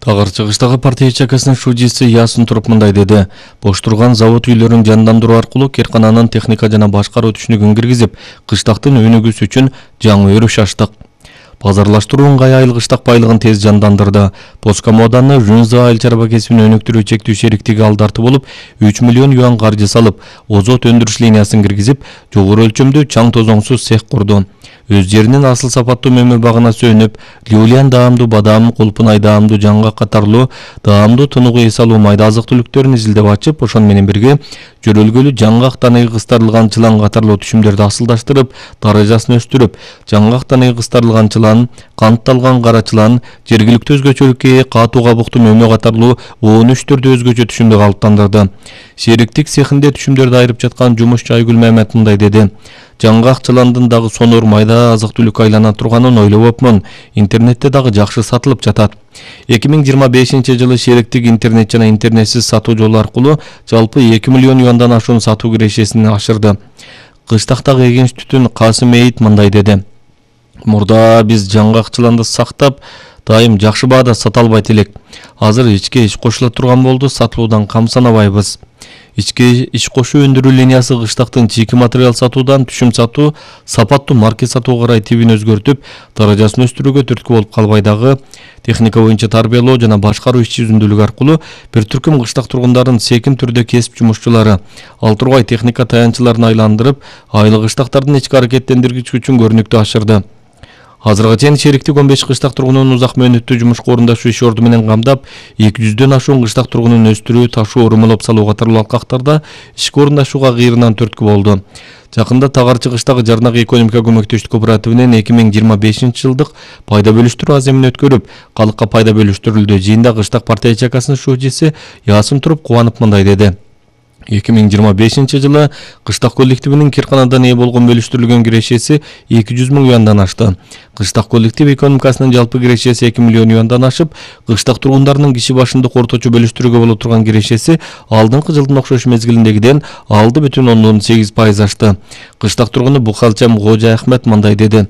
Тагыр чыгыштагы партия чакасынын шужиси Ясын туруп мындай деди. Бош турган завод үйлөрүн жандандыруу аркылуу керкананын техника жана башкаруу түшүнүгүн киргизип, кыштактын өнүгүүсү үчүн жаңы өрүш ачтык. Базарлаштыруу ыңгай айыл кыштак байлыгын тез жандандырды. Поском ауданы Жунза айыл чарба кесибин өнүктүрүү чектүү шериктиги алдарты болуп, 3 миллион юан каржы салып, озот өндүрүш линиясын киргизип, жогору өлчөмдүү чаң тозоңсуз цех курду. Өз жеринин асыл сапаттуу мөмө багына сүйөнүп, Люлиан даамдуу бадам, Кулпунай даамдуу жаңгак катарлуу даамдуу тунугу эс алуу майда азык түлүктөрүн изилдеп ачып, ошон менен бирге жөрөлгөлүү жаңгак таныгы кыстарылган чылан катарлуу түшүмдөрдү асылдаштырып, даражасын өстүрүп, жаңгак таныгы кыстарылган чылан, кантталган кара чылан, жергиликтүү өзгөчөлүккө ээ катуу кабыктуу мөмө катарлуу 13 түрдүү өзгөчө түшүмдү калыптандырды. Шериктик цехинде түшүмдөрдү айырып жаткан жумушчу Айгүл Мамед мындай деди. Жаңгак чыландын дагы сонор майда азык түлүк айлана турганын ойлобопмун. Интернетте дагы жакшы сатылып жатат. 2025-жылы шериктик интернет жана интернетсиз сатуу жолу аркылуу жалпы 2 миллион юандан ашуун сатуу кирешесин ашырды. Кыштактагы эгенч түтүн Касым Эйит мындай деди. Мурда биз жаңгак чыланды сактап, дайым жакшы баада сата албайт элек. Азыр ичке иш кошула турган болду, сатылуудан камсанабайбыз. Ичке иш кошуу өндүрүү линиясы кыштактын чийки материал сатуудан түшүм сатуу, сапаттуу маркет сатууга карай тибин өзгөртүп, даражасын өстүрүүгө түрткү болуп калбай дагы техника боюнча тарбиялоо жана башкаруу иш жүзүндүүлүгү аркылуу бир түркүм кыштак тургундарын секин түрдө кесип жумушчулары ал тургай техника таянчыларын айландырып, айыл кыштактардын ички аракеттендиргич күчүн көрүнүктүү ашырды. Азырга чейин шериктик 15 кыштак тургунун узак мөөнөттүү жумушка орундашуу иш орду менен камдап, 200дөн ашуун кыштак тургунун өстүрүү, ташуу, урмалап салуу катарлуу алкактарда ишке орундашууга кыйрынан түрткү болду. Жакында Тагарчы кыштагы Жарнак экономика көмөктөштүк кооперативинин 2025-жылдык пайда бөлүштүрүү аземин өткөрүп, калыкка пайда бөлүштүрүлдү. Жыйында кыштак партия чакасынын шужиси Ясын туруп кубанып мындай деди. 2025-жылы кыштак коллективинин Кирканадан ээ болгон бөлүштүрүлгөн кирешеси 200 000 юандан ашты. Кыштак коллектив экономикасынын жалпы кирешеси 2 миллион юандан ашып, кыштак тургундарынын киши башындык орточо бөлүштүрүүгө боло турган кирешеси алдыңкы жылдын окшош мезгилиндегиден 6,8% ашты. Кыштак тургуну Бухалчам Кожа Ахмет мындай деди.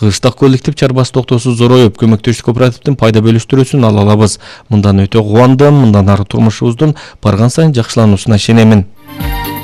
Кыштак коллектив чарбасы токтосуз зороюп, көмөктөштүк кооперативдин пайда бөлүштүрүүсүн ала алабыз. Мындан өтө кубандым, мындан ары турмушубуздун барган сайын жакшылануусуна ишенемин.